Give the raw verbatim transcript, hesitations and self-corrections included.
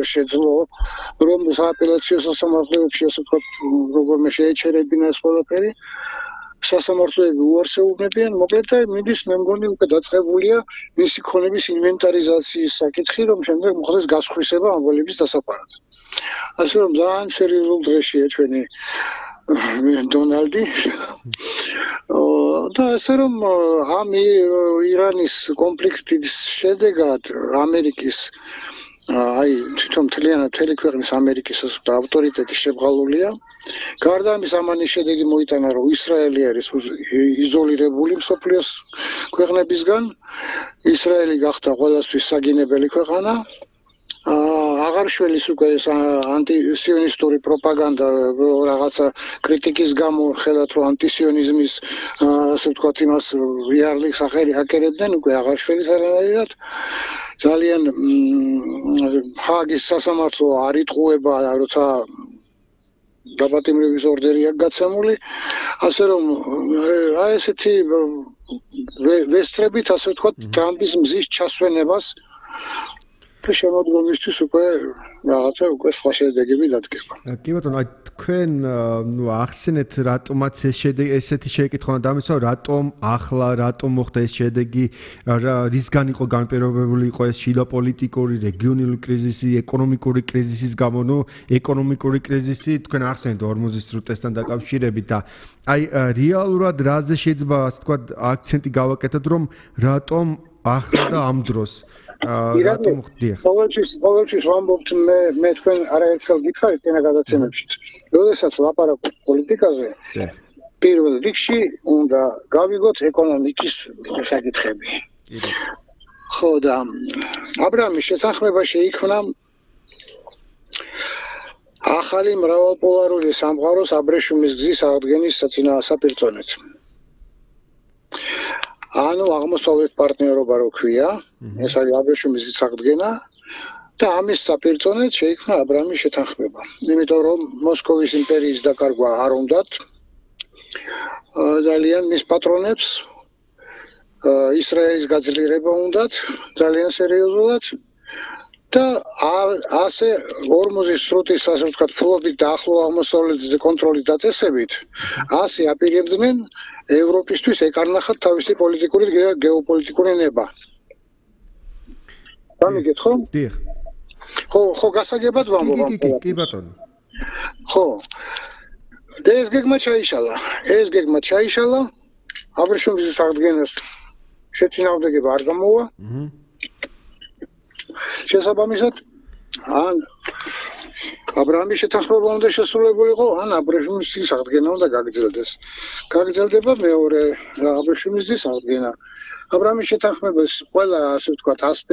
ვერ შეძლო, რომ სააპელაციო სასამართლოებში ასე ვთქვათ, როგორმე შეეჩერებინა ეს ყველაფერი. სასამართლოები უარსებობენ, მოკლედ და მიდის მე მგონი უკვე დაწყებულია მისი ქონების ინვენტარიზაციის საკითხი, რომ შემდეგ მოხდეს გასხვისება ამბოლების დასაფარად. ასე რომ ძალიან სერიოზულ დრეშია ჩვენი დონალდი. და ასე რომ ამ ირანის კონფლიქტის შედეგად ამერიკის აი თვითონ მთლიანად მთელი ქვეყნის ამერიკის ავტორიტეტი შებრალულია. გარდა ამის ამანის შედეგი მოიტანა, რომ ისრაელი არის იზოლირებული მსოფლიოს ქვეყნებისგან. ისრაელი გახდა ყველასთვის საგინებელი ქვეყანა. აღარ შველის უკვე ეს ანტისიონისტური პროპაგანდა რაღაცა კრიტიკის გამო ხელათ რომ ანტისიონიზმის ასე ვთქვათ იმას იარლიქს აკერებდნენ უკვე აღარ შველის არანაირად ძალიან ჰააგის სასამართლო არ იტყუება როცა დაპატიმრების ორდერი აქვს გაცემული ასე რომ აი ესეთი ვესწრებით ასე ვთქვათ ტრამპის მზის ჩასვენებას და შემოდგომისთვის უკვე რაღაცა უკვე სხვა შედეგები დადგება. კი ბატონო, აი თქვენ ნუ ახსენეთ რატომაც ეს შედეგი ესეთი შეეკითხვა დამისვა, რატომ ახლა, რატომ მოხდა ეს შედეგი, რისგან იყო განპირობებული იყო ეს შიდაპოლიტიკური, რეგიონული კრიზისი, ეკონომიკური კრიზისის გამო, ნუ ეკონომიკური კრიზისი თქვენ ახსენეთ ორმუზის სრუტესთან დაკავშირებით და აი რეალურად რაზე შეიძლება ასე ვთქვათ აქცენტი გავაკეთოთ, რომ რატომ ახლა და ამ დროს რატომ ხდია? ყოველთვის ყოველთვის ვამბობთ მე მე თქვენ არაერთხელ გითხარით ენა გადაცემებშიც. როდესაც ლაპარაკობთ პოლიტიკაზე, პირველ რიგში უნდა გავიგოთ ეკონომიკის საკითხები. ხო და აბრაამის შეთანხმება შეიქმნა ახალი მრავალპოლარული სამყაროს აბრეშუმის გზის აღდგენის საპირწონედ. ანუ აღმოსავლეთ პარტნიორობა რო ქვია, ეს არის აბრეშუმის გზის აღდგენა და ამის საპირწონედ შეიქმნა აბრაამის შეთანხმება. იმიტომ რომ მოსკოვის იმპერიის დაკარგვა არ უნდათ ძალიან მის პატრონებს ისრაელის გაძლიერება უნდათ ძალიან სერიოზულად და ასე ორმუზის სრუტის ასე ვთქვათ ფლობით და ახლო აღმოსავლეთის კონტროლის დაწესებით ასე აპირებდნენ ევროპისთვის ეკარნახათ თავისი პოლიტიკური გეოპოლიტიკური ნება. გამიგეთ ხო? დიახ. ხო, ხო გასაგებად ვამბობ. კი, კი, კი, ბატონო. ხო. და ეს გეგმა ჩაიშალა. ეს გეგმა ჩაიშალა. აბრეშუმის აღდგენას შეწინააღმდეგება არ გამოვა. აჰა. შესაბამისად ან აბრაამის შეთანხმება უნდა შესრულებულიყო, ან აბრეშუმის გზის აღდგენა უნდა გაგრძელდეს. გაგრძელდება მეორე აბრეშუმის გზის აღდგენა. აბრაამის შეთანხმების ყველა ასე ვთქვათ ასპექტი